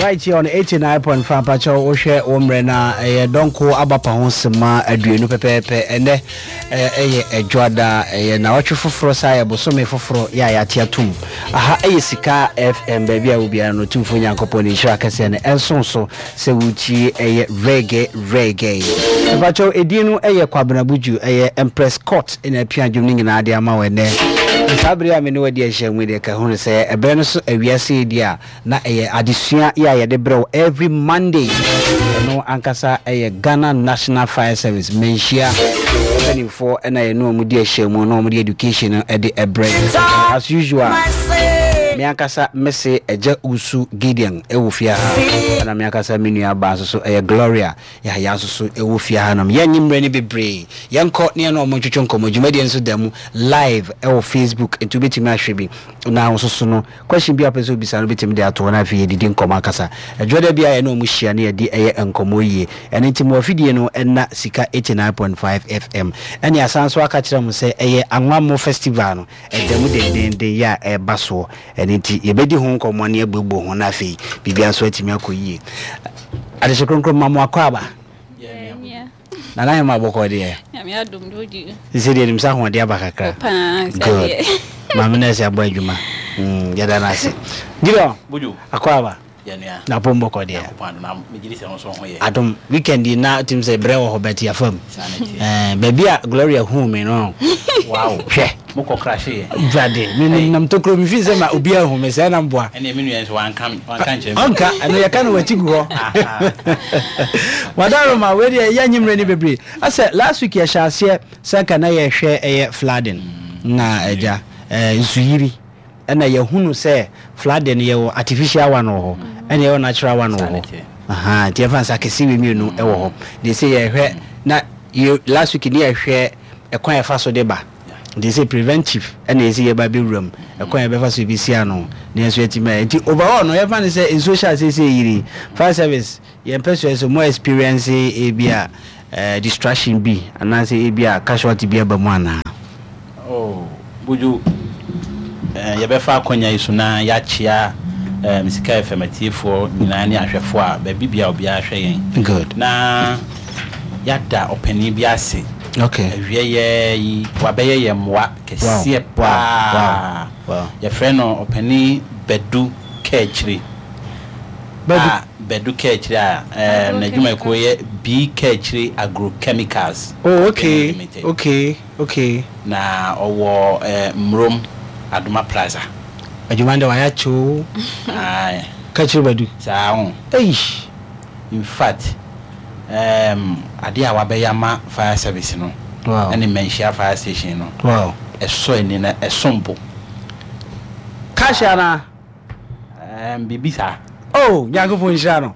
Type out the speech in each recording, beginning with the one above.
Right here on 89.5 mpakyɛw wohwɛ wo mmerɛ no a ɛyɛ dɔnko abapa ho sema 20 pɛpɛɛpɛ. Ɛnɛ ɛyɛ ɛdwoada, ɛyɛ nawɔtwe foforɔ, saa yɛ bosome foforɔ yɛ a yɛate atom. Aha ɛyɛ Sika FM, baabi a wobiara no Tumfoɔ Nyankopɔn ne nhyira kɛseɛ no ɛnso so sɛ wotie ɛyɛ reggae reggae. Mpakyɛw edin no ɛyɛ Kwabena Buju, ɛyɛ Empress Court na apia dwom no nyinaa de ama wo ɛnɛ. Na saa bere a me ne wo adi ahyiam yi deɛ ka hunu sɛ ɛberɛ no so awiase yi deɛ a na ɛyɛ adesua yi a yɛde brɛ wo every Monday. Ɛno ankasa ɛyɛ Ghana National Fire Service mmanhyia mpanimfoɔ ɛna yɛne wɔn di ahyiamu na wɔn de education no ɛde ɛbrɛ yɛn. As usual, me ankasa mese Agya Usu Gideon ɛwɔ fie ha, ɛna me ankasa me nua baa nso so ɛyɛ Gloria Yahaya nso so ɛwɔ fie ha nom. Yɛnnye mmerɛ no bebree, yɛnkɔ ne yɛne wɔn ntwetwe nkɔmmɔ. Dwumadie nso da mu live ɛwɔ Facebook, nti wobɛtumi ahwɛ bi na wo nso so no question bi a wopɛ sɛ wobisa no wobɛtumi de ato hɔ na afei yɛdidi nkɔmmɔ akasa. Ɛdwoada biara yɛne wɔn hyia na yɛde ɛyɛ nkɔmmɔ yie. Ɛno nti mo afidie no ɛnna Sika 89.5 FM. Ɛne asan nso aka kyerɛ mo sɛ ɛyɛ Anwammo Festival no ɛda mu dendeenden yɛ a ɛreba soɔ. Ɛno nti yɛbɛdi ho nkɔmmɔ na yɛabuebue ho na afei biribiara nso atumi akɔ yie. Adehye kronkron ma mo akwaaba. Nana Hema bɔkɔ deɛ. Nyame adom de odi. Sisi deɛ nim sɛ ahoɔden aba kakra. Paa sɛ Good. deɛ. Maame nurse abɔ adwuma. Mm, yɛda no ase. Gideon. Buju. Akwaaba. Yɛ nua. Na pom bɔkɔ deɛ. Nyankopɔn adom na megye di sɛ wo nso wo ho yɛ. Adom. Weekend yi na tim sɛ brɛ wɔ hɔ but yɛafa mu. Saa na ɛteɛ. Eh, baabi a Gloria huu me no. Wow. Hwɛ. Mo kɔ crashe yɛ. Awurade, me Hey. nam tokuro me fi sɛ ma obi ahu me sɛ na mboa. Ɛnna me nua nso wanka wanka nkyerɛ me. Ɔnka, ɛno yɛka no wakyi gu hɔ. Wadaroma, wei deɛ yɛ nyimire ni bebree. Asɛ last week yɛhyɛ aseɛ sɛ nka na yɛhwɛ ɛyɛ flooding na agya ɛɛ nsuyiri ɛna yɛhunu sɛ flooding no yɛwɔ artificial one wɔ hɔ ɛna yɛwɔ natural one wɔ hɔ. Ahaa, nti yɛmfa nsa kɛse wei mmienu ɛwɔ hɔ. Deɛ sɛ yɛhwɛ na yɛ last week ne yɛhwɛ ɛkwan yɛfa so de ba. Nti sɛ preventive ɛna yɛsɛ yɛba bɛwura mu, ɛkwan a yɛbɛfa so yɛbɛsi ano na yɛn nso yɛatumi ayɛ. Nti overall no yɛmfa no sɛ nsuo hyɛ aseɛ sɛ ɛyiri, fire service yɛn pɛ so sɛ mo experience ebi a eh, distraction bi anaasɛ ebi a casualty bi aba mu anaa? Oh, Buju, eh, yɛbɛfa akwanya yi so na yɛakyea eh, Sika FM atiefoɔ nyinaa ne ahwɛfoɔ a baabi bia obiara hwɛ yɛn. Good. Na yɛada ɔpanin bi ase. Okay. Awieɛ yi, wabɛyɛ yɛn mmoa kɛseɛ paa. Wow. Yɛfrɛ no ɔpanin Badu Kaakyire. Badu. A Badu Kaakyire a eh, n'adwumakuo yɛ B Kaakyire Agrochemicals. Oh, okay. Limited. Okay, okay. Na ɔwɔ eh, Mmrom Adoma Plaza. Adwuma no deɛ wayɛ akyɛ o. Aye. Kaakyire Badu. Saa ho. Eish. In fact, um, adeɛ a wabɛyɛ ama fire service no Wow. ɛne Manhyia fire station no, Wow. ɛsɔ ani na ɛsom bo. Cash anaa? Biribi saa. Oh, Nyankopɔn nhyira no.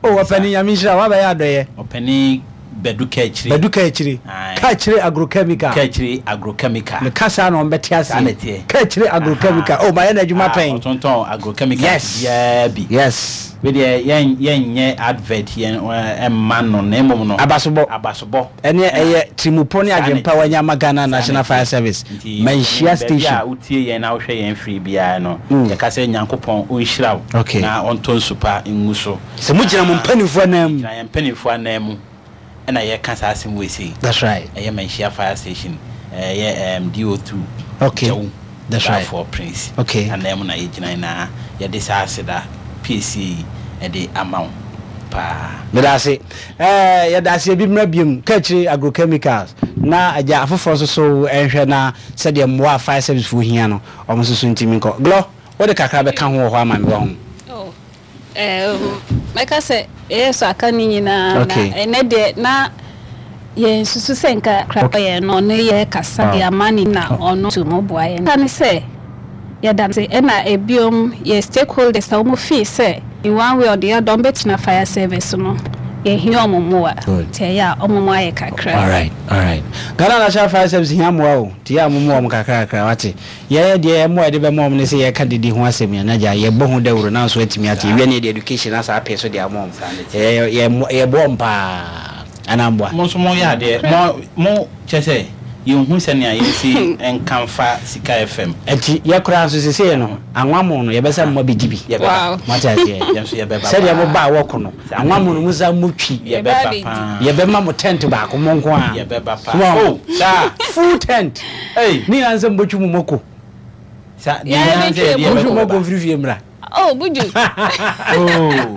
Oh, ɔpɛni Nyame nhyira wo, wabɛyɛ adɔyɛ. Ɔpɛni Badu Kaakyire. Badu Kaakyire. Aye. Kaakyire Agrochemical. Kaakyire Agrochemical. Meka saa na wɔn bɛte aseɛ. Saa na ɛteɛ. Kaakyire Agrochemical. Oh, mayɛ n'adwuma Ah, pɛn. ɔtontɔn agrochemicals Yes. biara bi. Yes. Wei deɛ yɛn yɛnyɛ advert yɛn ɛmma no na mmom no. Abasobɔ. Abasobɔ. Ɛne ɛyɛ tirimupɔ ne Saa na adwempa ɛteɛ. wanya ama Ghana Saa na National ɛteɛ. Fire Service. Nti Manhyia baabi a Station. wotie yɛn na wohwɛ yɛn firi biara no, yɛka sɛ Nyankopɔn ɔnhyira wo Okay. na ɔntɔ nsu pa ngu so. Sɛ mogyina mo Na mpanimfoɔ anan mu. Gyina yɛn mpanimfoɔ anan mu ɛna yɛka saa asɛm wei sei. That's right. Ɛyɛ Manhyia Fire Station, ɛyɛ um, DO2 Okay. Gyawu That's right. Balfour Prince Okay. anan mu na yɛgyina na yɛde saa aseda piesie yi ɛde ama wo paa. Meda ase. Ɛɛ, yɛda ase ebi mmra biom, Kaakyire Agrochemicals, na agya afoforɔ nso so nhwɛ na sɛdeɛ mmoa a fire service foɔ hia no, wɔn nso so ntumi nkɔ. Glɔ, wode kakra bɛka ho wɔ hɔ ama me, wahu. Oh, um, mɛka sɛ ɛyɛ so aka ne nyinaa Okay. na ɛnɛ deɛ na yɛnsusu sɛ nka kra yɛn no ɔno yɛ kasa de ama ne na ɔno tu mu boa yɛn. Ka ne sɛ yɛda ase ɛna ebiom yɛ stakeholders a wɔn fii sɛ in one way or the other wɔn bɛtena fire service no yɛhia wɔn mmoa nti ɛyɛ a wɔn mmoa yɛ kakra. Alright, alright. Ghana National Fire Service hia mmoa o, nti yɛ a mommoa wɔn kakra kakra, wate. Yɛn deɛ mmoa a yɛde bɛma wɔn ne sɛ yɛka dede ho asɛm yi a, na gya yɛbɔ ho dawuro na nso atumi ate. Yɛwie no yɛde education asa apee so de ama wɔn. Yɛ, yɛ, yɛboa wɔn paa. Anaa mboa? Mo nso mo yɛ adeɛ, mo, mo, kyerɛ sɛ, Yɛnhu sɛnea yɛnsi nka mfa Sika FM. Ɛnti yɛ koraa nso sesei no anwammo no yɛbɛsa mo abɛdi bi. Yɛbɛba. Moate aseɛ? Yɛn nso yɛbɛba paa. Sɛdeɛ mo baa wɔko no, anwammo no mo san mo twi. Yɛbɛba paa. Yɛbɛma mo tent baako mo nko ara. Yɛbɛba paa. So wahu? Oh, saa? Full tent. Ei. Ne nyinaa ne sɛ mobɛtwi mo mako. Sa, ne nyinaa ne sɛ yɛde Motwi mo yɛbɛkɔ mako bɛba. mfiri fie mmra. Oh, Buju. Oh.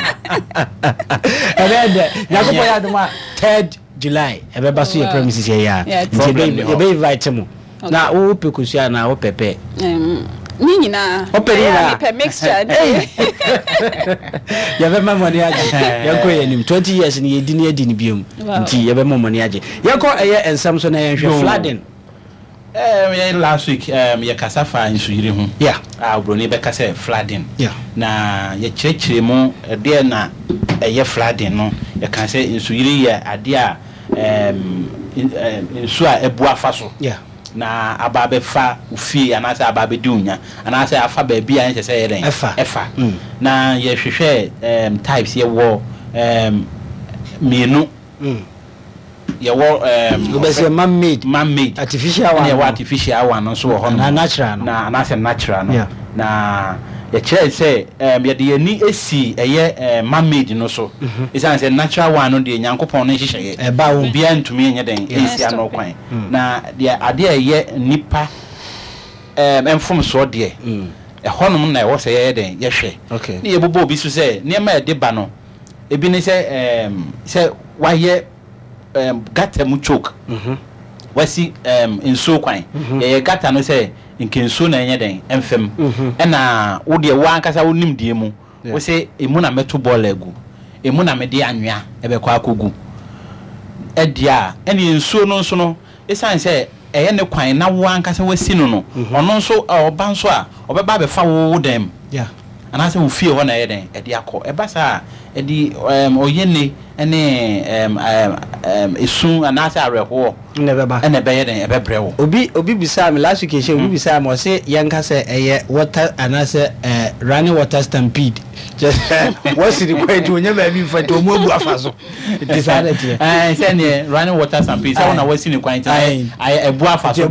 Ɛbɛyɛ dɛ. Nyankopɔn yɛ adom a, third July ɛbɛba so yɛ premises yɛ yɛ a. Nti yɛbɛ invite mo. Na wo pɛ kosua anaa wo pɛ pɛ? Ne nyinaa. Wo pɛ ne nyinaa. Mepɛ mixture. Yɛbɛma mo ani agye. Yɛnkɔ yɛn anim. 20 years no yɛdi ne adi no biom. Nti yɛbɛma mo ani agye. Yɛnkɔ ɛyɛ nsɛm so na yɛnhwɛ flooding. Yɛ last week yɛ kasa faa nsuyiri ho. Yeah. A obroni bɛka sɛ flooding. Yeah. Na yɛkyerɛkyerɛ mu ɛdeɛ na ɛyɛ flooding no. Yɛka sɛ nsuyiri yɛ adeɛ a nsuo a abu afa so. Yeah. Na aba abɛfa wo fie anaasɛ aba abɛdi wo nya anaasɛ afa baabi a ɛnsɛ sɛ ɛyɛ dɛn? Ɛfa. Ɛfa. Na yɛhwehwɛɛ types, yɛwɔ mmienu. Yɛwɔ Wobɛsɛ man made. Man made. Artificial one. Ɛna yɛwɔ artificial one nso wɔ hɔ nom. Anaa natural no. Na anaasɛ natural no. Yeah. Na yɛkyerɛɛ sɛ yɛde yɛn ani si ɛyɛ man made no so. Esiane sɛ natural one no deɛ Nyankopɔn no nhyehyɛeɛ. Ɛba wo. Obiara ntumi nyɛ dɛn nsi ano kwan. Na deɛ adeɛ a ɛyɛ nnipa mfomsoɔ deɛ, ɛhɔnom na ɛwɔ sɛ yɛyɛ dɛn yɛhwɛ. Okay. Ne yɛbobɔ obi so sɛ nneɛma a ɛde ba no, ebi ne sɛ sɛ wayɛ gutter mu choke. Wasi nsuo kwan. Yɛyɛ gutter no sɛ nka nsuo na ɛnyɛ dɛn ɛmfa mu. Ɛna wo deɛ wo ankasa wo nimdeɛ mu, wo se emu na mɛto bɔɔla agu, emu na mede anwea ɛbɛkɔ akɔgu. Ɛdeɛ a, ɛneɛ nsuo no nso no, ɛsiane sɛ ɛyɛ ne kwan na wo ankasa wasi no no, ɔno nso ɔba nso a, ɔbɛba abɛfa wo wo dan mu. Anaasɛ wo fie hɔ na ɛyɛ dɛn ɛde akɔ. Ɛba saa a, ɛde ɔyɛnne ne esu anaasɛ awerɛhoɔ na ɛbɛba. Na ɛbɛyɛ dɛn ɛbɛbrɛ wo. Obi obi bisaa me last week nhyɛ obi bisaa me ɔse yɛnka sɛ ɛyɛ water anaasɛ running water stampede kyerɛ sɛ wɔasi ne kwan nti wɔnya baabi mfa nti wɔn abu afa so nti saa na ɛteɛ. Ɛɛ sɛdeɛ running water stampede sɛ wo na wɔasi ne kwan nti ayɛ ɛbu afa so deɛ.